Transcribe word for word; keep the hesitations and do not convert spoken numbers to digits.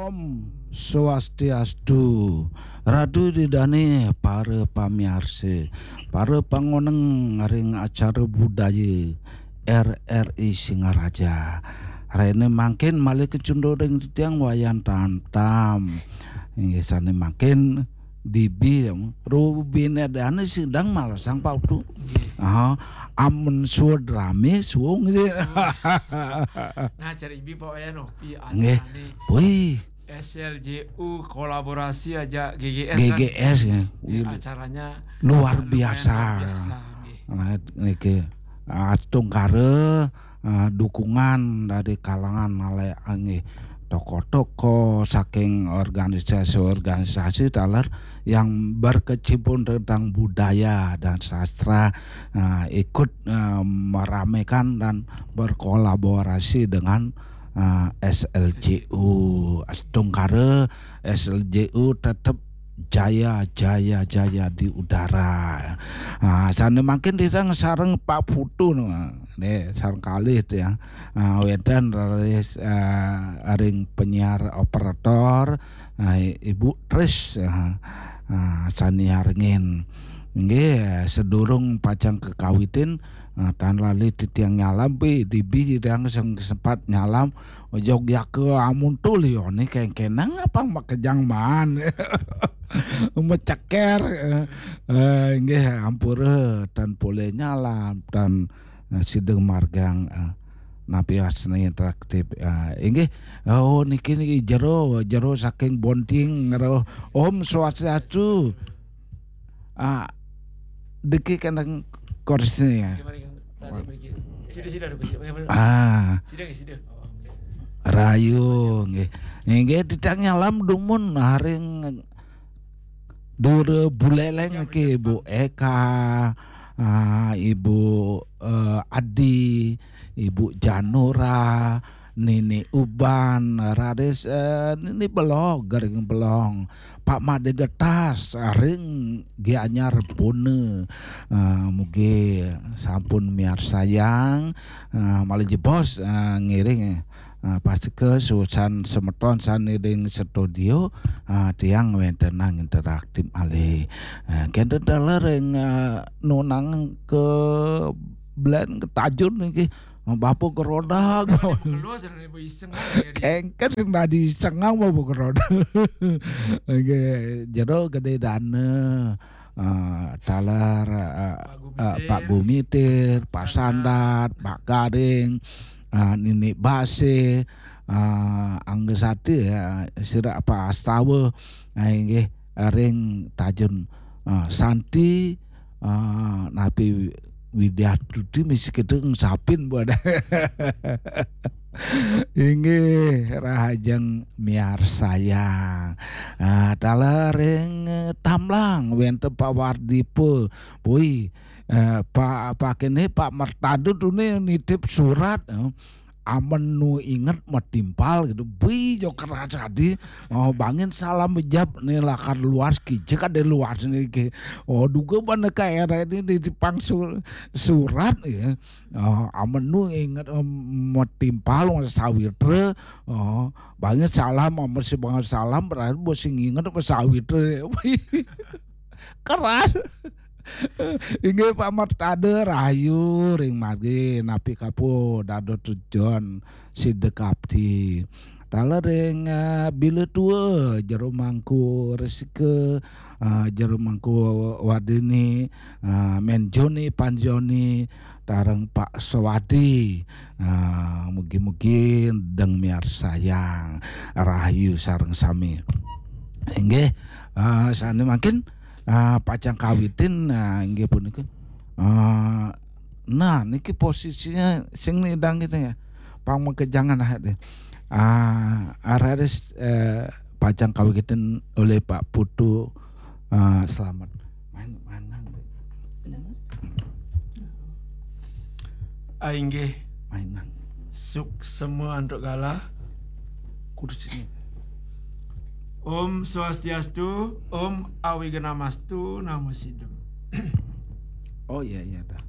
Om Swastiastu, Ratu Ida Dané, para pamiarsa, para pangoneng ring acara budaya R R I Singaraja. Rena mangkin malih kacunduk ring titiang Wayan Tamtam. Inggih sané mangkin dibi, rubina dané sing dang malasang Pak Utu. Nggih. Ah, amun suud ramé suung sih. Nah, cari ibi Pak Wayan, oh, pi Nggih. Acarane Wih, S L J U kolaborasi aja G G S kan. G G S ya. Nggih, acaranya luar lumayan biasa. Luar biasa, nggih. Nah, niki astungkara, eh, dukungan dari kalangan malih nggih tokoh-tokoh saking organisasi-organisasi taler yang berkecimpung tentang budaya dan sastra, eh, ikut, eh, meramaikan dan berkolaborasi dengan, eh, S L J U. Astungkara S L J U tetep jaya, jaya, jaya di udara. Ah, sané mangkin titiang sareng Pak Putu no. Nggih, sareng kalih titiang. Ah, wénten raris, ah, ring penyiar operator, ah, Ibu Tris, ah, ah, sané nyarengin. Nggih, sedurung pacang kakawitin, ah, tan lali titiang nyalam, pi, dibi titiang sing sempat nyalam, Yogyakarta amun tulione kengkenang apa makejang maan. Meceker, eh, eh, nggih, ampura tan polih nyalam, tan, eh, sida margiang, eh, napi asna interaktif, eh, inggih. Oh, niki, niki jero, jero saking Bonting, jero. Om Swastiastu. Ah, diki kandang korsine ya. Sida, sida, sida, sida. Ah, sida, sida. Oh, nggih. Rahayu nggih. Nggih, titiang nyalam dumun ring Dura Buleleng niki, Ibu Eka, ah, Ibu, eh, Adi, Ibu Janura, Nini Uban, raris, eh, Nini Belog, Gering Belong, Pak Made Getas, ring Gianyar Pune, eh, mugi sampun miarsayang, eh, malih jebos, eh, ngiring, eh, pastika susan semeton sané ring studio, eh, tiang wéntenang interaktif malih. Eh, kénten taler ring, eh, nunang ke Blen ke Tajun niki. Bapa Gerodag. Keluar sana ibu iseng aja dia. Kengken sing dadi isengang Bapa Gerodag. Nggih, jero Gedé Dana. Eh, taler, eh, Pak eh, Pak Gumitir, Gumitir, Pak Sandat, Sandat, Pak Garing, eh, Nini Basih, eh, Angga Sati, eh, sira Pak Astawa, eh, inggih, ring Tajun, eh, Santi, eh, napi Widiatuti misi kita sapin buat. Inggih, rahajeng miarsayang. Ah, taler ring Tamlang wénten Pak Wardipa. Pui, eh, Pak, Pak kéné, Pak Mertadu tuné nitip surat, eh. Amen nu inget matimpal gitu. Bui, jo keras tadi. Oh, bangin salam bejab nih lakar luas kijek ada luas nih ke. Oh, duga bana ka R R I nitipang sur-, surat ya. Oh, amen nu inget, em, matimpal wong sawitra. Oh, bangin salam, amen si bangin salam, berarti bos sing inget apa sawitra. Keras. Inggih Pak Mertade rahayu ring margi napi kapo dados tujuan sida kapti. Taler ring, eh, Bila Tua, Jero Mangku Resika, eh, Jero Mangku Wardini, eh, Men Joni, Pan Joni, tareng Pak Sewadi. Eh, mugi-mugi deng miarsayang rahayu sareng sami. Inggih, eh, sané mangkin, eh, pacang kawitin, eh, inggih punika. Eh, nah, niki posisinya sing nidang gitu ya. Pang makejangan ah deh. Ah, raris, eh, pacang kawitin oleh Pak Putu, eh, Selamat. Main, main nang, Dek. Ah, inggih. Main nang. Suksema antuk galah. Kudu sini. Om Swastiastu, Om Awignamastu Namo Sidam. Oh iya, iya, dah.